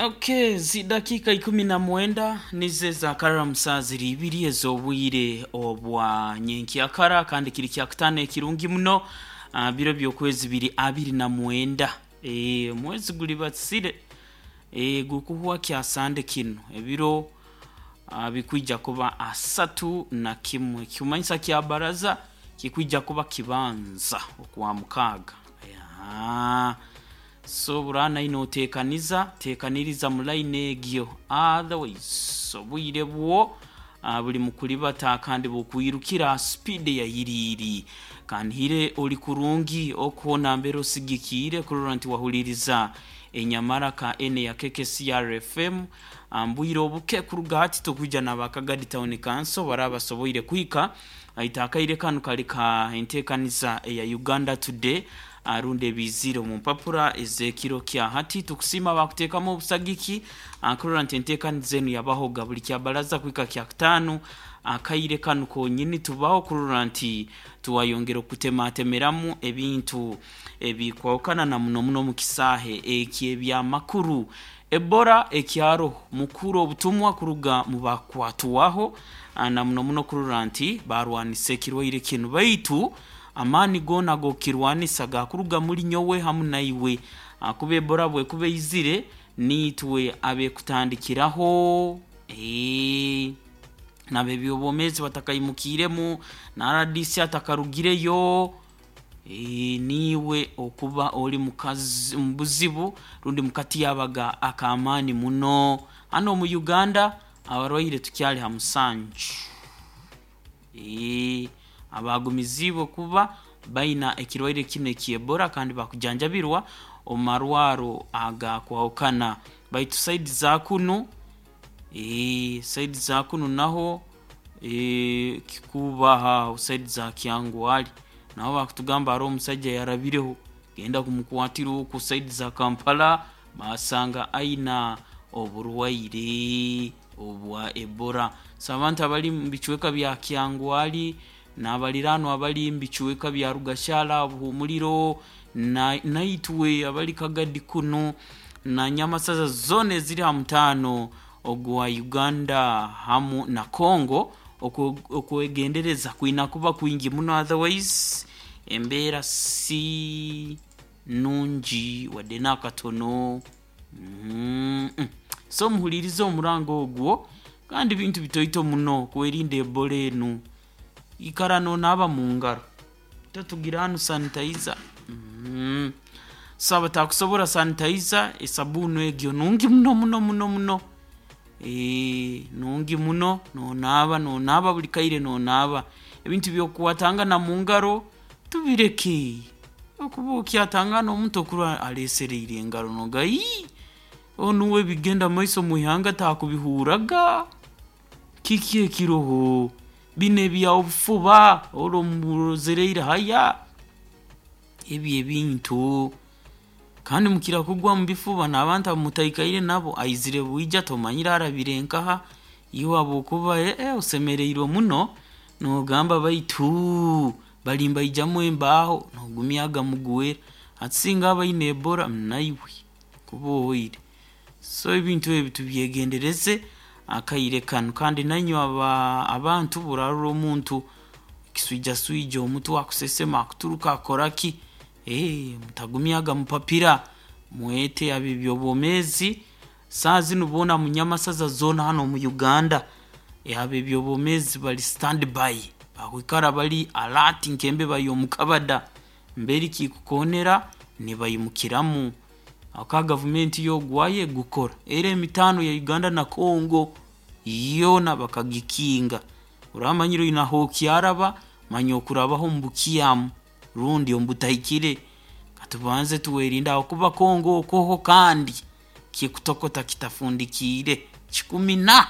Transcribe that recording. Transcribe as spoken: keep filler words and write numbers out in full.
Okay, zidakika ikumi na mwenda nizo zakarara musaa ziri ibiri ez'obwire obwa nyenkyakara, kandi kiri kyakutaano ekirungi muno. ah, biro by'okwezi biri abiri na mwenda, e, omwezi guli batsire e, gukuhwa kyasande kinu ebiro ah, bikwija kuba asatu na kimwe, kimanyisa kya baraza kikwija kuba kibanza okwa mukaaga. Ya. So burana ino otekaniza tekaniriza mu line egyo, otherwise obwire bwo ah, buli mukulibata kandi bukwirukira speed ya yiriiri. Kanhire oli kurungi okuhona mbere osigikiire kurora nti wahuliriza enyamaraka ene ya K K C R F M. Mbwire obuke kuruga hati tukwija n'abakagadi Town Council baraba basoboire kuhika aita akaire kanu kali ka enteekaniza eya Uganda Today, arundi ebizire omu mpapura ez'ekiro kya hati. Tukusiima bakuteekamu obusagiki kurora nti enteekaniza enu yabahoga buli kyabaraza kuhika kyakutaano akaire kanu konyini. Tubaho kurora nti tuwayongera okutematemeramu ebintu ebikwahukana na muno muno mu kisaahe eky'ebyamakuru. Ebola ekyaroho mukuru obutumwa kuruga mu bakwatwaho na muno muno kurora nti barwanisa ekirwaire kinu, baitu amaani goona g'okukirwanisa gakuruga muri nyowe hamu naiwe, akuba ebola bwekuba eizire niitwe abekutandikiraho, ee, n'abebyobwomeezi batakaimukiiremu na R D C atakarugireyo, ee, niiwe okuba oli mukazi mu buzibu rundi mukatyabaga ak'amaani muno. Hanu omu Uganda abarwaire tukyali ha musanju, ee, abagumiziibwe kuba baina ekirwaire kinu eky'Ebola kandi bakujanjabirwa omu marwaro agakwahukana, baitu side za kunu, ee, side za kunu naho, ee, kikubaha side za Kyangwali naho bakutugamba hariho omusaija yarabireho genda kumukwatira oku side za Kampala, basanga aina oburwaire obwa Ebola. So abantu abali mu bicweka bya Kyangwali n'abaliraanwa abali mu bicweka bya Rugashara, Buhumuliro, na naitwe abali Kagadi kunu na Nyamasaza zoona eziri ha mutaano ogwa Uganda hamu na Congo, okwegendereza kwina kuba kwingi muno, otherwise embeera si nungi wadde n'akatono. mm -mm. So muhulirize omurango ogwo, kandi bintu bitoito muno kwerinda Ebola enu. Ikara nonaaba mu ngaro, totugira hanu sanitizer. mm. So abatakusobora sanitizer, esabuuni egyo nungi muno muno muno muno, ee, nungi muno. Nonaaba nonaaba buli kaire, nonaaba ebintu by'okukwatangana mu ngaro tubireke, okuba okyatangana omuntu okurora alesereire engaro noga ii onu we bigenda maiso mu ihanga taakubihuraga. Kiki ekiroho bino ebya obufuba ori murozereire haya ebi ebintu, kandi mukira kugwa mu bifuba n'abantu abamutaikaire nabo, aizire bwija tomanyire arabire nkaha iwe, habwokuba ee osemereirwe muno nogamba baitu bali mbaijamu embaaho nogumyaga mugwera. Hati singa aba aine Ebola naiwe kuba ohoire. So ebintu ebi tubyegendereze akaire kanu, kandi nainywe aba abantu burarora omuntu kiswijaswija omutwe, akusesema, akuturuka, akora ki, ee, mutagumyaga mupapira, mwete ab'ebyobwomeezi. Saa zinu boona mu Nyamasaza zoona hanu omu Uganda ab'ebyobwomeezi bali stand by, bakwikara bali alert nk'embeba y'omukabada, mberi kikukoonera nibaimukiramu aka gavumenti yogwayo egukora era emitaano ya Uganda na Congo yoona bakagikinga. Oramanyire oine ahokyaraba manya okurabaho omu bukyamu rundi omu butahikire, katubanze tuwerinde ahakuba Congo okoho kandi kikutokota kitafundikiire kikumi na